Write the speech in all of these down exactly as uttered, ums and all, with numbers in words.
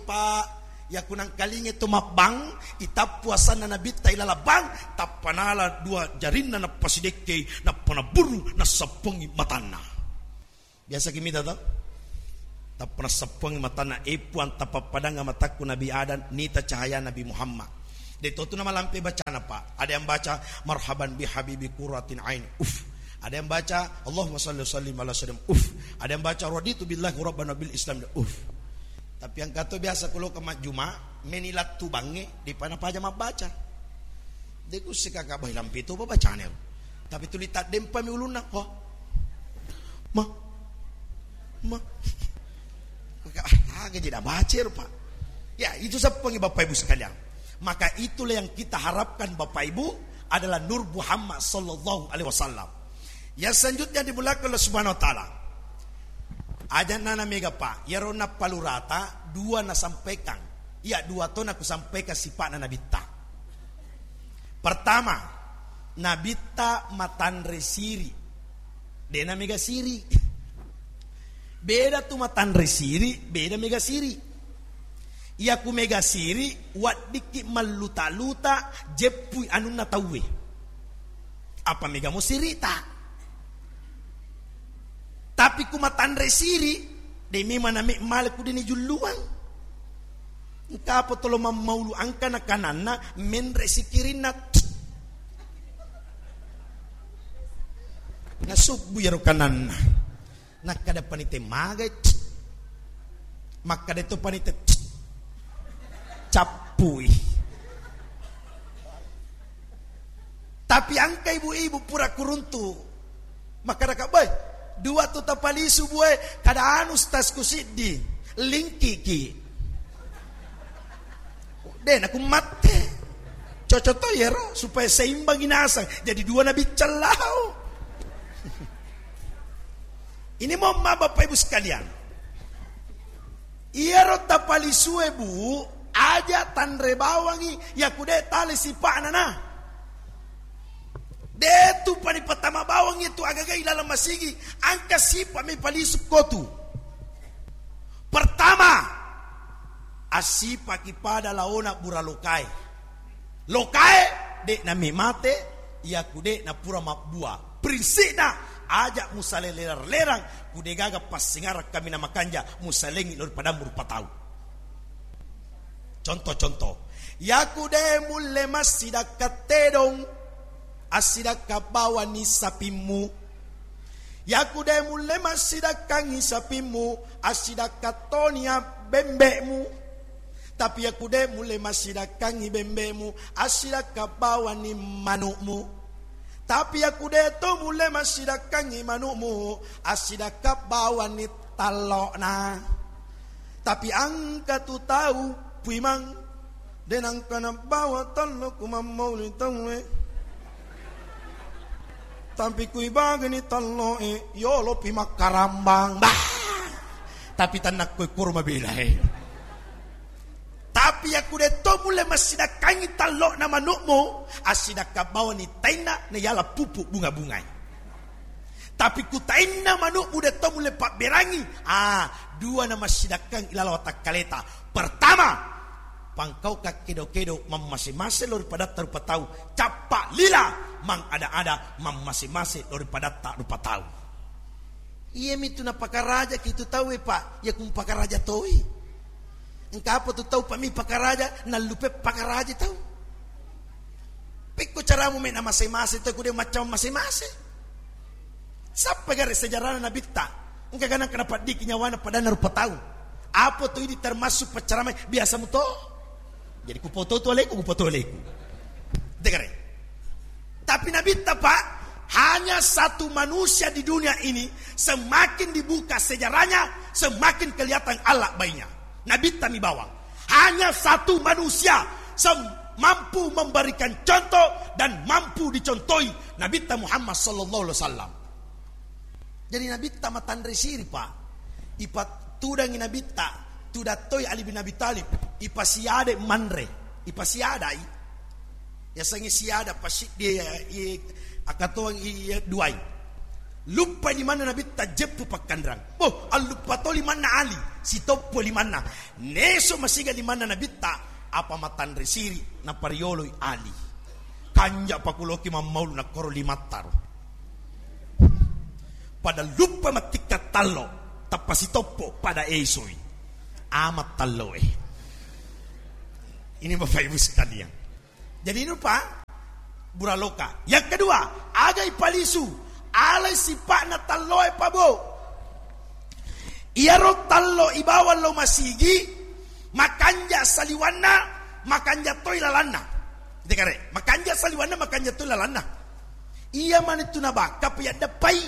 Pa, yakku nangkalinge to mabbang, itappu asanna Nabitta ilaleng bang, tappa nala dua jarinna, nappa sidekkei, nappa nabburru, nassappongi matanna. Biasa ki mita to? Tappa nassappongi matanna, "E Puang, tapappadangnga matakku Nabi Adam, nita cahaya Nabi Muhammad." De to tu namalampe bacana, Pak. Ada yang baca, "Marhaban bi habibi qurratin ain." Uf. Ada yang baca, "Allahumma salli wa sallim ala sayyidina." Uf. Ada yang baca, "Raditu billahi rabban wa bil Islam." Uf. Tapi engka to biasa ku loka majjuma, meni lattu bangnge, depa napaja mabbaca. De ku isse kaka, "Bah, lampe to bacane." Tapi tuli taddempami ulunna, "Ho. Ma. Ma." Maka, ah, aga jadi baca ero, Pak. Ya, itu seppengi Bapak Ibu sekalian. Maka itulah yang kita harapkan Bapak Ibu adalah Nur Muhammad sallallahu alaihi wasallam. Yang selanjutnya dimuliakan oleh Subhanahu wa Ta'ala. Aja nana mega, Pak, iyaro nappalurata dua nasampaikan. Iya, dua to nakusampaikan sipa'na Nabitta. Pertama, Nabitta matanre siri. Dena mega siri. Beda tu matanre siri, beda mega siri. Iyaku mega siri, waddikki malluta-luta, jeppui anunna tauwe. Apa mega mo sirita? Tapi ku matanre siri, de memang name male ku deni julluang. Engka apa tolo mammaulu angka na kananna, menre sikirinna. Nasubbu iyaro kananna. Nakkada panite, "Magai?" Makkada to panite, "Cappui." Tapi angka ibu-ibu pura kuruntu. Makkadaka, "Boy, dua tu tapalisu, Bue, kada anu stasku siddi, lingkiki." De naku matte. Cocok to iyaro supaya seimbangi nasang. Jadi dua nabiccang lao. Ini mohon maaf Bapak Ibu sekalian. Iyaro tapalisue, Bu, aja tanre bawangi, yaku de tale sipa'na na. De tu pani patama bawangi tu agaga ilaleng masigi, angka sipa mi palisu kotu. Pertama, assipaki pada laona bura lokae. Lokae, de name mate, yaku de napura mabbua. Prinsikna, aja musale lerang-lerang, ku de gaga passingarang kaminang makanja, musalengi lao ri padammu rupa tau. Contoh-contoh, yaku de mulle massidakka tedong, assidakka bawani sapimmu. Yaku de mulle massidakkangi sapimmu, assidakka tonia bembe'mu. Tapi yaku de mulle massidakkangi bembe'mu, assidakka bawani manu'mu. Tapi yaku de to mulle massidakkangi manu'mu, assidakka bawani tallo'na. Tapi angka tu tau puimang, de nangka nabawa tallo ku mammauli tauwe. Tapi kui bagani talloe, yolo pi makkarambang. Bah! Tapi tanakko kuro mabela e. Tapi yaku de to mulle massidakkangi tallo'na manu'mu, assidakka bawani tainna na yala pupu bunga-bungai. Tapi ku tainna manu'mu de to mulle pabberangi, ah, dua na massidakkang ilaleng watakkaleta. Pertama, pangkau kakkedo-kedo mammase-mase lao ri padatta rupa tau, cappa lila mangada-ada mammase-mase lao ri padatta rupa tau. Iyami tu napakarajaki tu tauwe, Pak, yaku mpakaraja toi. Engka apa tu tau, Pak, mi pakaraja, nallupe pakaraja tau. Pekko caramu me namase-mase tau, ku de macca mase-mase. Sappa gare sejarana Nabitta? Engka ganang kana paddiki nyawana padanna rupa tau. Apa tu idi termasuk paccaramai biasa muto? Jadi kupoto tu aleku, kupoto aleku. Degare. Tapi Nabitta, Pak, hanya satu manusia di dunia ini, semakin dibuka sejarahnya, semakin kelihatan Allah baiknya. Nabitta mi bawang. Hanya satu manusia sem-, mampu memberikan contoh dan mampu dicontohi, Nabitta Muhammad sallallahu alaihi wasallam. Jadi Nabitta matanre siri, Pak. Ipatudangi Nabitta, tudang toi Ali bin Abi Thalib, ipasiade manre, ipasiadai. Yasengnge siada pasiddi, iya, iya, akatoang iya duai. Luppai limanna Nabitta jeppu pakkanrang. Boh, alluppa to limanna Ali, sitoppo limanna. Neso masiga limanna Nabitta, apa matanre siri, naparioloi Ali. Kanja pakuloki mammaulu nakkoro limattaro. Pada luppa mattikka tallo, tappa sitoppo pada esoi. Amat talloe. Ini Bapak Ibu sekalian. Jadi ini rupa buraloka. Yang kedua, aga ipalisu, alai sipa'na talloe pabo. Iyaro tallo ibawa lo masigi, makanja saliwanna, makanja toi lalanna. Dekare, makanja saliwanna, makanja toi lalanna. Iya manitu nabakka payaddepai.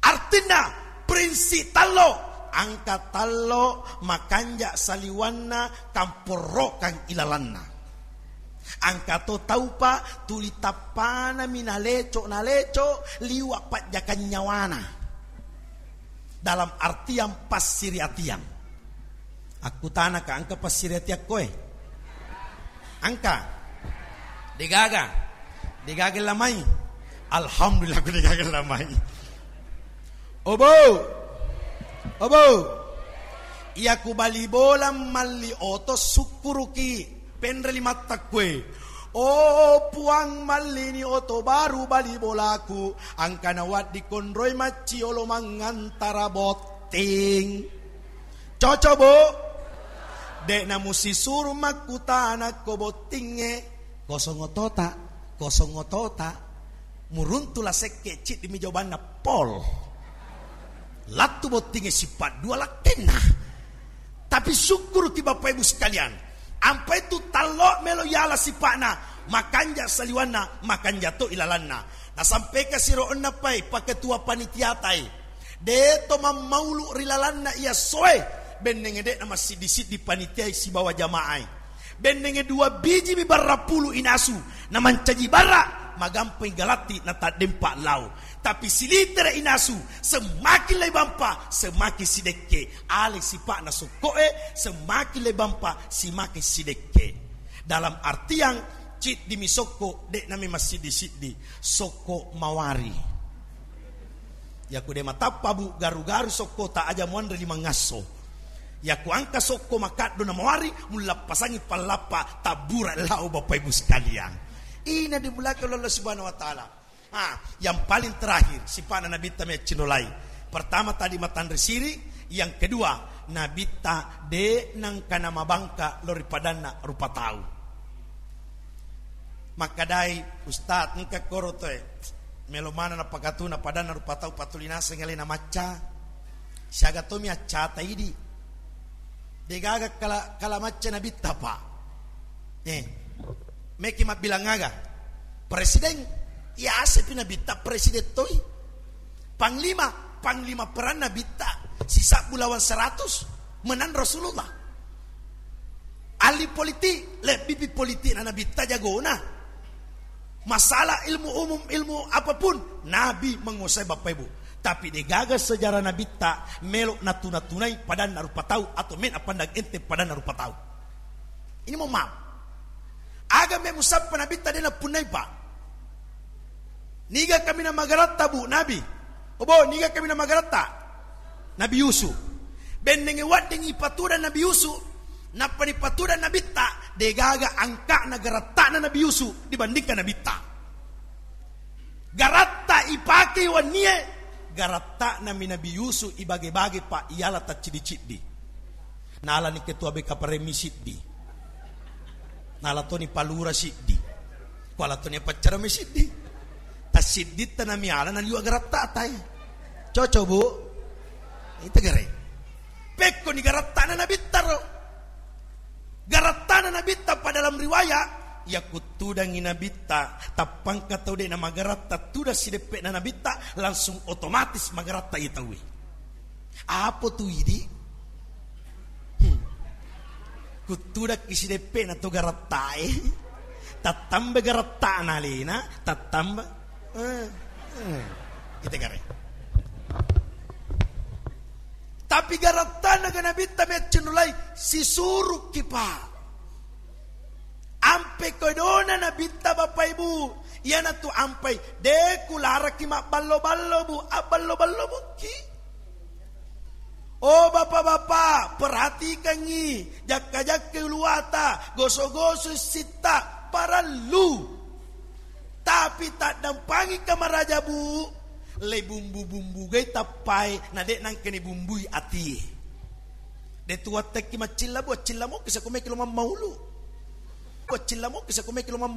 Artinna, prinsip tallo, angka tallo makanja saliwanna, kamporrokang ilalanna. Angka to taupa tuli tappanami naleco-naleco liwa pajjakang nyawana. Dalam artian passiriatian. Akkutanaka, engka passiriatiakkoe? Engka? Degaga? Degaga lamai? Alhamdulillah, ku degaga lamai. Obo! Obo! Iya ku bali bola malli oto sukkuruki. Penre limatta kue. Oh Puang, mallini oto baru bali bolaku. Angkana waddi konroi macciolo mangantara botting. Cocok, Bu? De'na musisuru makkutana ko bottingnge. Kosong otota, kosong otota. Muruntu la sekke, ciddi mi jawabanna pol. Lattu bottingnge sipaddua lakkenna. Tapi sukkuruki Bapak Ibu sekalian. Ampai tu tallo melo yala sipa'na, makanja saliwanna, makanja to ilalanna. Nasampaika siro onna pai, paketua panitiatai. De to mammaulu ri lalanna iya soe, bennenge de'na massiddi-siddi panitiai sibawa jamaai. Bennenge dua biji mi barra pulu inasu, namancaji barra, magampai galatti nataddempa lao. Tapi silitere inasu, semakin lai bampa, semakin sidekke. Ale sipa'na sokko'e, semakin lai bampa, semakin sidekke. Dalam artian, ciddi mi sokko, de'na mi massiddi-siddi, sokko mawari. Yaku de matappa, Bu, garu-garu sokko ta aja muanre limangngasso. Yaku angka sokko makaddo na mawari, mullappasangi pallappa tabbura lao Bapak Ibu sekalian. Ina dimulakan oleh Allah Subhanahu wa Ta'ala. Ah, yang paling terakhir, sipa'na Nabitta meccinolai. Pertama tadi matanre siri, yang kedua, Nabitta de nangkana mabangka lori padanna rupa tau. Makkadai, "Ustaz, engka koro toe melo mana napakatuna padanna rupa tau, patuli naseng alena macca. Siaga tomi accata idi. Degaga kala, kala macca Nabitta, Pak." Eh, meki mabbilang aga? Presiden, iya asepi Nabitta presiden toi. Panglima, panglima perang Nabitta, sisabbu lawan seratus, menang Rasulullah. Ahli politik, lebbipi politik na Nabitta jagona. Masalah ilmu umum, ilmu apapun, Nabi menguasai Bapak Ibu. Tapi degaga sejarah Nabitta melo natuna-tunai padanna rupa tau atau mena pandang enteng padanna rupa tau. Ini mohon maaf. Aga me musappa Nabitta de napunnai, Pak? Niga kaminang magaratta, Bu, Nabi? Obo, niga kaminang magaratta? Nabi Yusuf. Bennenge wadding ipatuda Nabi Yusuf, nappa dipatuda Nabitta, degaga angka'na garatta'na Nabi Yusuf dibandingkan Nabitta. Garatta ipake wennie, garatta'nami Nabi Yusuf ibage-bage, Pak, iyala tacciddi-ciddi. Nalani ketua B K P R M siddi. Nala toni palura siddi. Kuala toni paccara mi siddi. Tassidditta namiala naliwa garatta'ta e. Cocok, Bu? Itu gare. Pekkoni garatta'na Nabitta ro. Garatta'na Nabitta pa dalam riwayat, yakuttudangi Nabitta, tappangka tau de namagaratta tudang sideppe'na Nabitta, langsung otomatis magaratta iya tauwe. Apa tu idi? Hmm. Kuttudakki sideppe'na to garattae. Tattamba garatta'na alena, tattamba. Eh, eh. Kita gare. Tapi garattana ga Nabitta meccenulai, sisurukki, Pak. Ampe kodona Nabitta, Bapak Ibu, Iyanatu ampai, de' kularekki mabballo-ballo, Bu, abballo-ballo mukki. Oh, Bapak-bapak, perhatikangngi, jakka-jakkai uluwata, goso-goso sitta, parellu. Tapi taddampangi kamaraja, Bu, le bumbu-bumbugai tappai, na de' nangkani bumbui atie. De' tuwattekki maccilla, Bu, accilla mokki sakumeki lo mammaulu. Accilla mokki sakumeki lo mammaulu.